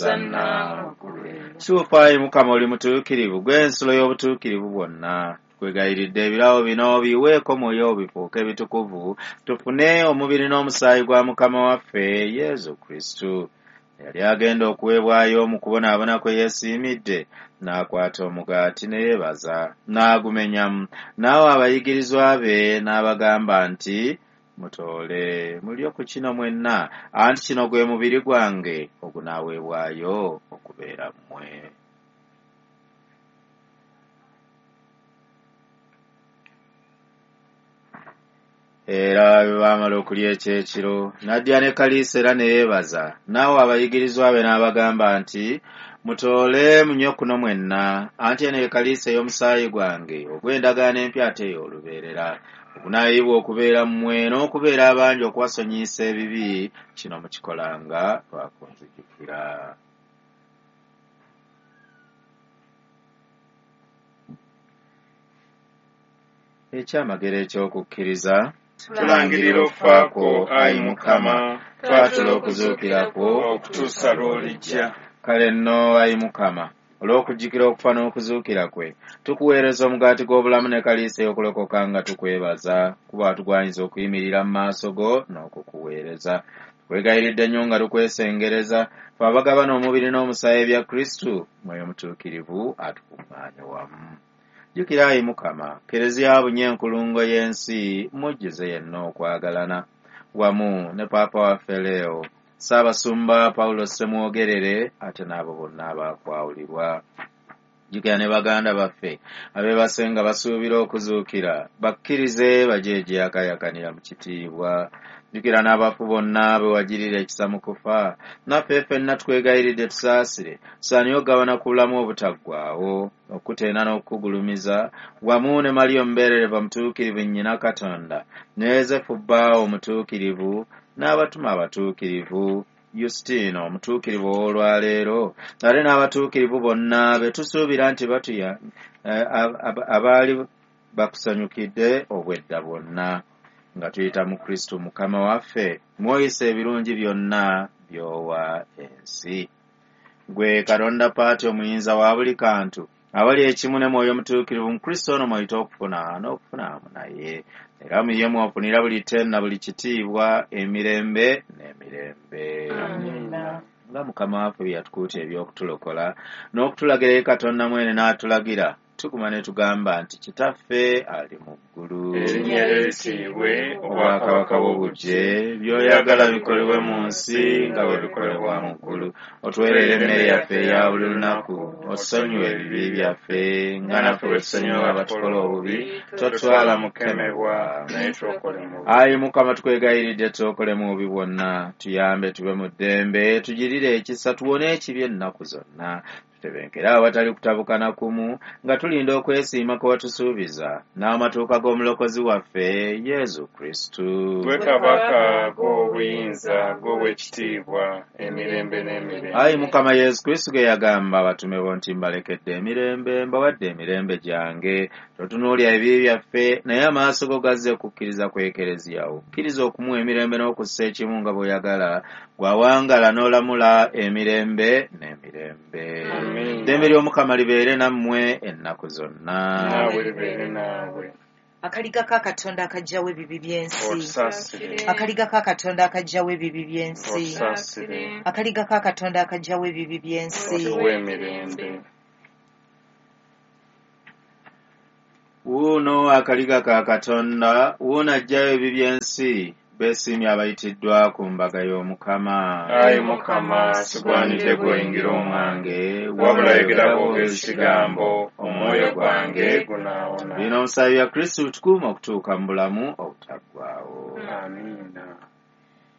Hosanna. Kituufu ayi Mukama oli mutuukirivu, gw'ensulo y'obutuukirivu bwonna. Tukwegayiridde ebirabo bino biweeko mwoyo bifuuke bitukuvu, tufune omubiri n'omusaayi gwa Mukama waffe Yesu Kristo. Yali agenda okuweebwayo mu kubonaabona kwe yeesiimidde, n'akwata omugaati ne yeebaza, n'agumenyamu, n'awa abayigirizwa be n'abagamba nti, Mutoole mulye ku kino mwenna, anti kino gwe mubiri gwange ogunaaweebwayo okubeera mmwe. Era bwe baamala okulya ekyekiro, n'addira ne kaliisa era ne yeebaza, n'awa abayigirizwa be n'abagamba nti, Mutoole munywe kuno mwenna, anti eno ye kaliisa ey'omusaayi gwange ogw'endagaano empya ate ey'olubeerera, ogunaayiibwa okubeera mmwe n'okubeera abangi okubasonyiyisa ebibi, kino mukikolanga lwa kunzijukira. Ekyamagero eky'okukkiriza. Tulangirira okufa kwo, ayi Mukama, twatula okuzuukira kwo okutuusa lw'olijja. Kale nno, ayi Mukama, olw'okujjukira okufa n'okuzuukira kwe, tukuweereza omugaati gw'obulamu ne kaliisa ey'okulokoka nga tukwebaza, kuba watugwanyiza okuyimirira mu maaso go n'okukuweereza. Tukwegayiridde nnyo nga tukwesengereza, ffe abagabana omubiri n'omusaayi ebya Kristu, Mwoyo Mutuukirivu atukuŋŋaanye wamu. Jjukira ayi Mukama, Kkereziya abunye enkulungo y'ensi, mujjuze yenna okwagalana. Wamu ne Paapa waffe Leo, Ssaabasumba Paulo Ssemwogerere, ate n'abo bonna abaakwawulibwa. Jjukira ne baganda baffe abeebase nga basuubira okuzuukira, bakkirize baje egyeyakayakanira mu kitiibwa. Jjukira n'abafu bonna be wagirira ekisa mu kufa, naffe ffenna tukwegayiridde tusaasire, tusaanire okugabana ku bulamu obutaggwaawo, okukutenda n'okukugulumiza, wamu ne Mariya omubeererevu omutuukirivu nnyina Katonda, ne Yozefu bbaawe omutuukirivu, n'abatume abatuukirivu, Yusitiino omutuukirivu ow'olwaleero, ate n'abatuukirivu bonna be tusuubira nti batuya abaali bakusanyukidde obwedda bwonna. Nga tuyita mu Kristo Mukama waffe, mw'oyisa ebirungi byonna by'owa ensi. Ggwe Katonda Paati omuyinza wa buli kantu, abali ekimu ne Mwoyo Mutuukirivu mu Kristo ono mw'oyita okufuna n'okufuna awamu naye. Era mu ye mw'ofunira buli ttendo na buli kitiibwa, emirembe n'emirembe. Amiina. Nga Mukama waffe bye yatukuutira eby'okutulokola, n'okutulagira ye Katonda mwene n'atulagira, tuguma ne tugamba nti, Kitaffe ali mu ggulu, Erinnya lyo lisiibwe, obwakabaka bwo bujje, by'oyagala bikolebwe mu nsi nga bwe bikolebwa mu ggulu. Otuweerere emmere yaffe eya buli lunaku, otusonyiwe ebibi byaffe nga naffe bwe tusonyiwa abatukola obubi, totutwala mu kukemebwa. Naye tulokole mu bubi. Ayi Mukama, tukwegayiridde tulokole mu bubi bwonna, tuyambe tube mu ddembe, tugirire ekisa, tuwone ekibi ennaku zonna. Tutebenkere awatali kutabukana kumu, nga tulinda okwesiima kwe watusuubiza, n'amatuuka g'Omulokozi waffe Yesu Kristo. Ggwe Kabaka, g'obuyinza, g'ow'ekitiibwa, emirembe n'emirembe. Ayi Mukama Yesu Kristo, ge yagamba abatume bo nti, Mbalekedde emirembe, mbawadde emirembe gyange. Totunuulira ebibi byaffe, naye amaaso go gazze kukkiriza kw'Ekereziya wo. Kkiriza okumuwa emirembe n'okussa ekimu nga bw'oyagala, gw'awangala n'olamula emirembe n'emirembe. Amiina. Ddembe ly'Omukama libeere nammwe ennaku zonna. Naawe libeere naawe. Akaliga ka Katonda akaggyawo ebibi by'ensi. Otusaasire. Akaliga ka Katonda akaggyawo ebibi by'ensi. Otusaasire. Akaliga ka Katonda akaggyawo ebibi by'ensi. Otuwe emirembe. Wuuno akaliga ka Katonda, wuuno aggyayo ebibi by'ensi, beesiimye abayitiddwa ku mbaga y'Omukama. Ayi Mukama, sigwanidde gw'oyingira omwange, wabula yogera bwogezi kigambo, omwoyo gwange gunaawona. Bino omusaayi bya Kristo bitukuuma okutuuka mu bulamu obutaggwaawo.